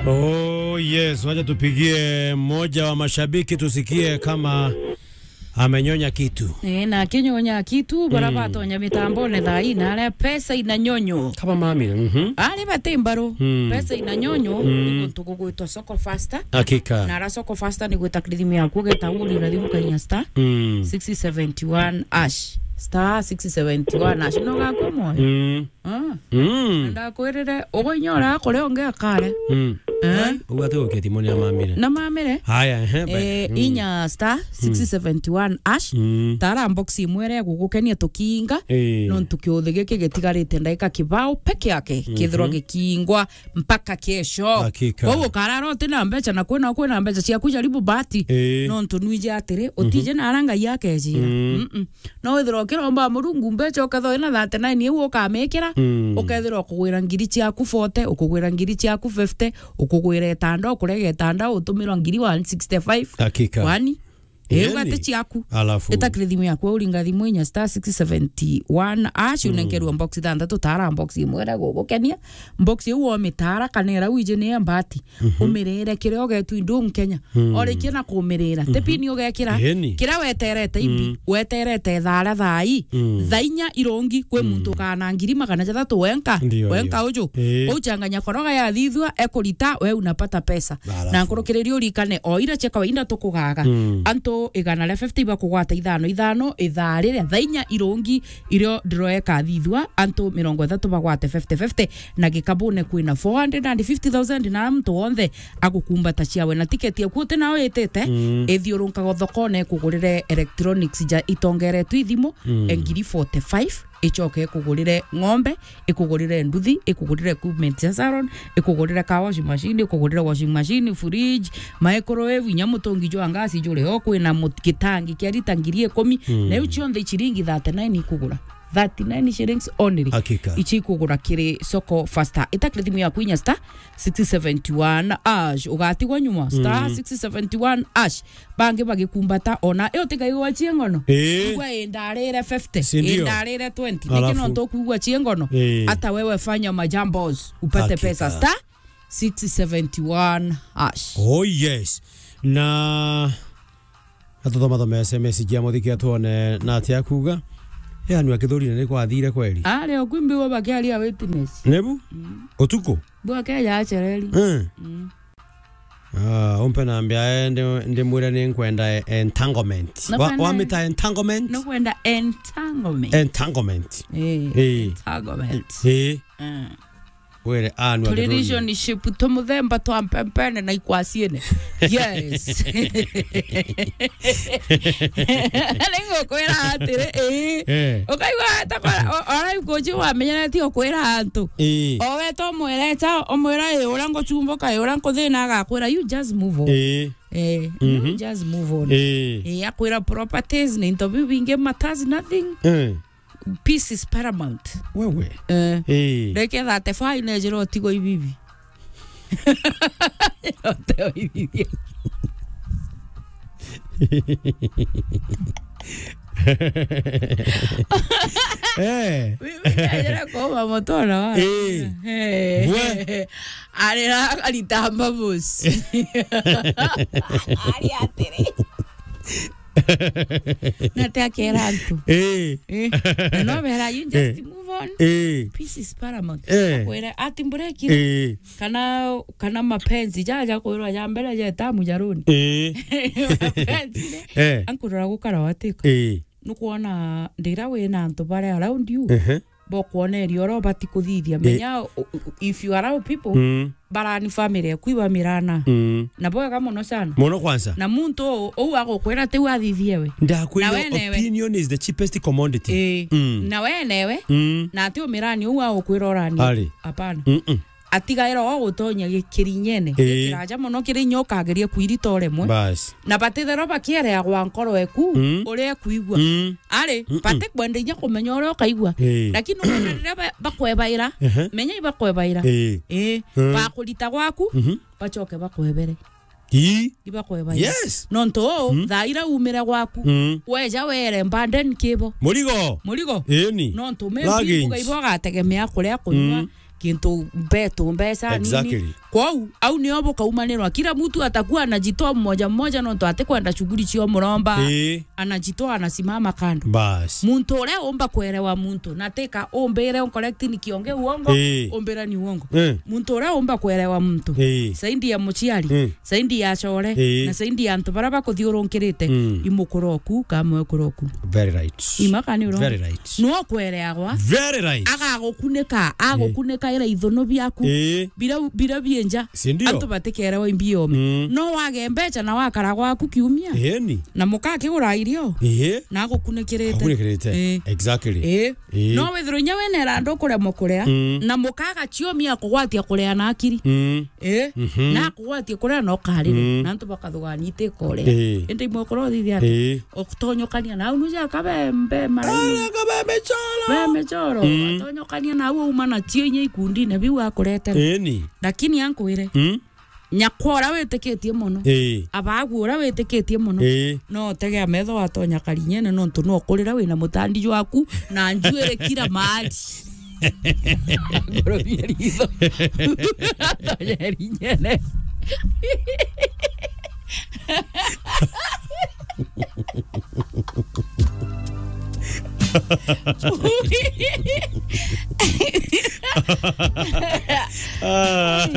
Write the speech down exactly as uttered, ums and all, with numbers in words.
Oh yes, wacha tupigie mmoja wa mashabiki tusikie kama amenyonya kitu. Eh, na akinyonya kitu, bara Mm. batonya mitambone thaa ii, na aria pesa inanyonyo. Kama mami, mhm. Ari bati mbaru, Mm. pesa inanyonyo, Mm. ni guntu gugwitwa Soko Faster. Hakika. Na ara Soko Faster ni gwita kiri thimu yaku, ugeta uri na thimu kainya star Mm. six seventy one hash. Star six seventy one hash. No gakwa moyo. Mm. Ah. Mm. Ndakwirire, uguo inya uria akuria ungi akare. Mm. Eh? Ai, uguo ati gukia thimu ni amamire. Na mamire? Haya, ehe, ba- Eh, Mm. inya star six seventy one hash. Mm. Tara box imwe iria igugukenia tukiinga. Eh. Nontu kiuthi giki gitigarite ndagika kibao peke yake, kithirwa Mhm. gikiingwa mpaka kesho. Hakika. Koguo ukarara uti na mbeca, na kwina, kwina mbeca ciaku, jaribu bahati. Eh. Nontu nwiji atiri, utije Mhm. na ara Ngai akejira. Mm. Mm-mm. No withirwa ukiromba Murungu mbeca, ukethirwa wina thirty nine iu ukamikira, Mm. ukethirwa ukugwira ngiri ciaku forty, ukugwira ngiri ciaku fifty, ukugwira itanda, ukurega itanda, utumirwa ngiri one sixty five. Hakika. Kwani? Iu Yaani, gati ciaku. Alafu. Itakire thimu yaku, uringa thimu inya star six seventy one hash, Mm. unenkerwa box ithanthatu, tara box imwe iria gugukenia. Box iu womitara, kana iria wiji ni ya mbati. Mhm. Umirire kiria ugetwi ndung Kenya. Mm. Orikia na kumirira. Mhm. Ti pini ugekira. Eni. Kiria weterete imbi, Mm. weterete thara thai. Mm. Thaa inya irungi, kwi Mm. muntu ukana ngiri magana jathatu wenka. Ndio, wenka ndio. Uju. Eh. Uchanganya koroga yathithua, ekurita, we unapata pesa. Alafu. Na nkurukiriria urikane, o ira cia kawaida tukugaga. Mm. Antu igana ria fifty ibakugwata ithano ithano, ithaa riria thaa inya irungi, irio ndiroeka thithua, antu mirongo ithatu bagwate fifty fifty, na gikabune kwina four hundred and fifty thousand, na muntu wonthe agukumbata ciawe. Na tiketi yaku uti nayo itite, Mm. ithiurunkaga thokone ikugurire electronics ja itongeretwe ithimu, Mm. e ngiri forty five, icoke ikugurire ng'ombe, ikugurire nduthi, ikugurire equipment cia salon, ikugurire car wash machine, ikugurire washing machine, fridge, microwave, inya mutungi jwa ngasi juri o, kwina mut-, gitangi kia rita ngiri ikumi, Mm. na iu cionthe ciringi thirty nine ikugura. Thirty nine shillings only. Hakika. Ici ikugura kiri Soko Faster. Itakire thimu yaku inya star six seventy one hash. Ugatigwa nyuma. Star Mm. six seventy one hash. Bangi bagikumbata ona. Iyo tiga igwa ciengono. Eh. Igwa indarire fifty. Si ndio? Indarire twenty. Alafu. Niki no ntukwigua ciengono? Eh. Hata wewe fanya majambos. Upate Hakika. Pesa. Star six seventy one hash. Oh yes. Na Atuthoma thoma S M S cia muthiki atuone na atia akuga. E anu akithurine ni kwathire kweli. Ari o kwimbi wo bakiaria witness. Nebu? Mm. Utuku? Bu akeja acereri. Eh. Mm. Ah, umpe nambia, eh, ndi, ndimwire ni nkwenda, eh, entanglement. Wa, Nakwenda wamita entanglement? Nakwenda entanglement. Entanglement. Eh, Eh. Entanglement. Eh. Mm. Were anu agithurire. Turi relationship tu muthemba twa mpempene na ikwaciene. Yes. Ningukwira atiri, ii. Eh. Ukaigua ta kwa, o-, ora ikuji wamenyeretie ukwira antu. Ii. O we to mwireta, umwira, "Ii, uria ngucumbuka, ii, uria nkuthina," agakwira, "You just move on." Ii. Eh, Mhm. you just move on. Ii. Ii, akwira properties na into biu bingi matters nothing. Eh. Peace is paramount. Wewe. Eh. Eh. Reke thirty-five nejira utigo ibibi. Uteo ibibi. Eh. Bibi nejira kuuma mutona wa. Eh. Eh. We. Arira aritamba busi. Ari atiri. Na te akera antu. Eh. Eh. Na no bera, you just Eh. move on. Eh. Peace is paramount. Eh. Akwira ati mburekire. Eh. Kana, kana mapenzi jaja kwirwa ja mbere ja tamu ja runi. Eh. Mapenzi ne. Eh. Ankurora gukara watika. Eh. Nukwona ndira wina antu bare around you. Ehe. Bokwona iri oro bati kuthithia. Eh. Menya, u-, u-, if you allow people, Mm. barani family yaku ibamirana. Mm. Na bwega muno sana. Muno kwanza. Na muntu u-, uu agukwira tiu athithie we. Ndakwira, na we newe. Opinion is the cheapest commodity. Eh. Mm. Na we newe. Mm. Na ati umirani uu agukwira urani. Ari. Hapana. Mm-mm. Atigaira o gutonya gi-, kirinyene. Eh. Kiraja muno kiri inya ukageria kwirita o rimwe. Bas. Na batithero bakiereagwa nkoro eku, Mm. uria ekwigua. Mm. Ari, Mm-mm. batikwenda inya kumenya uria ukaigua. Eh. Lakini ukwona riria ba-, bakwebaira, Ehe. menya ibakwebaira. Eh. Eh, Mm. bakurita gwaku, Mhm. bacoke bakwebere. Ii. Ibakwebaira. Yes. Nontu, Mm. thaa ira umire gwaku, Mm. weja were mbanden kibo. Murigo. Murigo. Ĩni. Nontu, maybe Luggage. Mbuga ibo agategemea kuria kunywa, Mm. kintu mbetu, mbeca nini. Exactly. Kwou, au nio bukaumanirwa. Kila mtu atakuwa anajitoa mmoja mmoja, nontu atikwenda shughuli cio muromba. Ii. Anajitoa, anasimama kando. Bas. Muntu uria umba kuelewa muntu, na tika umbire uncorrect ni kionge uongo, ii, umbira ni uongo. Eh. Muntu uria umba kuelewa muntu, ii, saidi ya muciari, ii, saidi ya core, ii, na saidi ya antu baria bakuthiurunkirite, mm, imukura oku, kamwe ukura oku. Very right. Ima kana ni urongo? Very right. No kwereagwa. Very right. Agagukunika, agukunika ira ithunu biaku. Ii. Bira, bira bienja. Si ndio? Antu batikerewa imbi omi. Mm. No wage mbecha na wakara gwaku kiumia. Ii ni. Na muka akigura irio. Ii. Na agukunikirite. Agukunikirite. Ii. Exactly. Ii. Ii. No withirwe inya wina irandu kuremwa kuria. Mm. Na muka agaciomia akugwatia kuria na akiri. Mm. Ii. Mhm. Na akugwatia kuria na ukarire. Mm. Na antu bakathugania itikore. Ii. Indi imwe ukora uthithia atia? Ii. Utonyokania na au nuja kabembe maraini. Ara kabembe choro. Bembe choro. Mm. Utonyokania na au uma na cio inya ikundine biu akuretera. Ii ni. Lakini ankwire. Mm. Nyakwa uria witikitie mono. Ii. Abagu uria witikitie mono. Ii. No utegea metho watonya karinyene nontu no ukurira wina mutandi jwaku na njuiri kila mahali. Ngorobia ritho. Tonye rinyene. Ah.